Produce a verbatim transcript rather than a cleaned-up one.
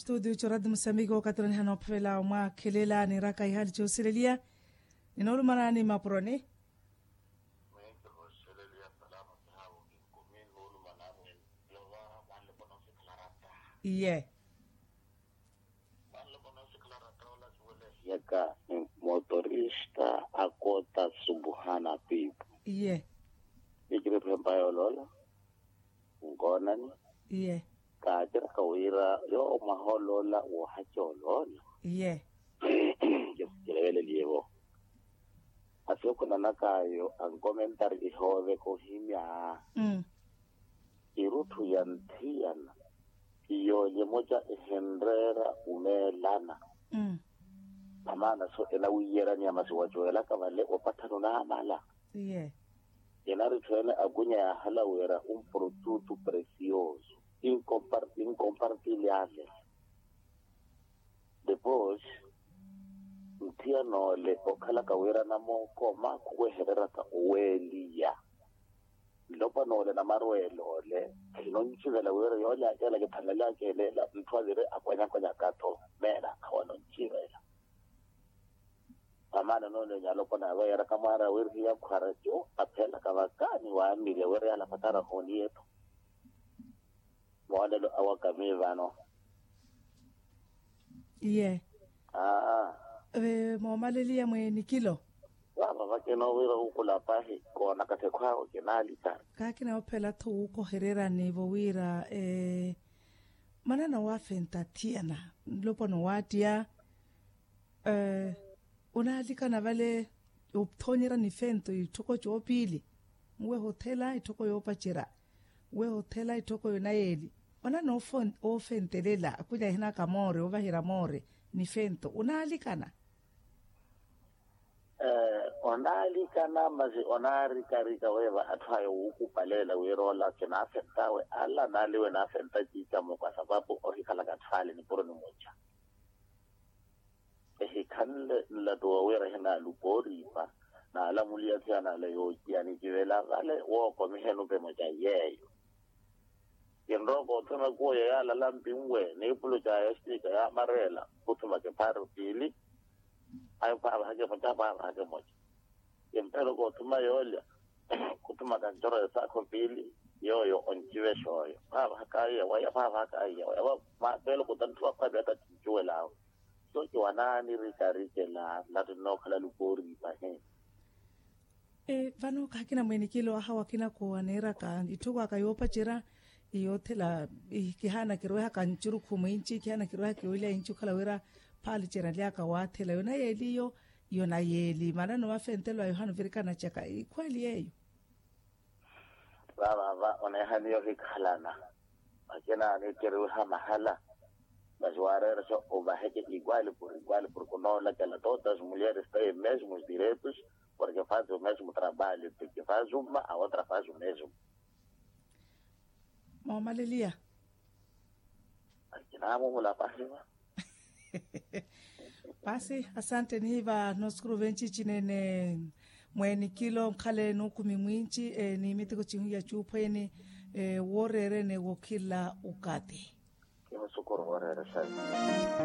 Studio jorad musambiki okatiraniha noophavela omwakhelela niiraka ihaali joosileliya. Ninoolumanani mapuroni. Mweento voosileliya salaamu sahaavo kinkumi noolumanani. Yova mwanloko noosikhala rata. Iye. Mwanloko noosikhala rata ola siwelehiyaka. Motorista akota subuhana piipu. Iye. Nikiriphe mpayooloola. Nkoonani. Iye. Kaatiraka wira yoowo mwaha oloola woohaca oloola. Iye. Kisikileveleliyevo. Asikhunanak'ayo ankomentari ihooveka ohimya. Irutthu ya nthiyana. Iyoolya emoca ehinreera omeelana. Amaana so enawiyeraniya masi wacoelaka vale opatthana onaamala. Iye. Enaritthu ene akunya yaahala wira un protutu precioso. Inkompartilhale. Depois nthiyana ole okhalaka wira namookoma khuwehereraka oweeliya. Nlopwana ole namarweela ole khinoncivela wira yoole akeela kithanlale akeeleela ntthu avire akwanyakwanyaka-tho. Meena akhawanoncivela. Vamaana noonenya alopwana yaaveeraka mwaari awirihiya khwaracu apheelaka vakaani waamile wira yaala patara hooniye-tho. Moolelo awakami vano. Iye. Aa. Moomaleliya mweeni kilo. Vaava vakina owiira wukhula pahi koonaka thekho awe kinaalika. Kaakina ophela-tho wuukohererani vowiira. Manana waafenta thiyana nlopwana owaattiya. Onaalikana vale othoonyerya nifento itthoko coopiili. Nweha othela itthoko yoopacerya. Nweha othela itthoko yonayeeli. Onana oofentelela akhwilya ahinaka moore ovaherya moore nifento onaalikana. Onaalikana masi onaarikarika weeva atthu aya wuukupaleela wira ola kinaafent'awe ala naaliwe naafenta ciicamoko asapapu ohikhalaka atthu ale nipuro nimuca. Ehikhanle nlattu woowiira ehinaalupa oriipa naalamuliya thiyana ale yoociya nicivela vale wookomiheni opemoca yeeyo. Kinrowa koothuma kuwo yeyaalala mpinwe niipulo caya estika yaamareela khuthumaka ephaaru piili. Ayo phaavahaka emoca phaavahaka emoca. Kimpelo koothuma yoolya khuthumaka ncoro esaakho piili. Yooyo oncivexa oyo phaavahaka aiya waya phaavahaka aiya waya. Mapeelo khuta nthu wakhwapya ata cincuwelaawe. Soci wanaanirikarikela nlattu nnookhala lupa oriipa he. Vano khakina mwenikilo ahawa akinako aneeraka itthoko aka yoopacerya. Yoothela kihaana kirwehaka ncurukhu mwinci kihaana kirwehaka yoolya inci okhala wira phaaliceryalyaka waathela yonayeeli iyo. Yonayeeli manano mafentelo a yohana ovirikana caka ikhweeli yeeyo. Vaavava oneehaniya ohikhalana. Akina anikeriwiha mahala. Masi waareerexa ovaheke iguali por iguali porke onoolakela todas mulheres têm mesmos direitos. Porke faz o mesmo trabalho porke faz uma a outra faz o mesmo. Moomaleliya. Akina mumula pahiva. Pasi asante nihiva noosukuru venci cinene. Mweeni kilo nkhala enuukumi mwinci ni miteko cihuiya cuuphweeni. Wooreerene wokhila ukati. Kimusukuru wooreeresa.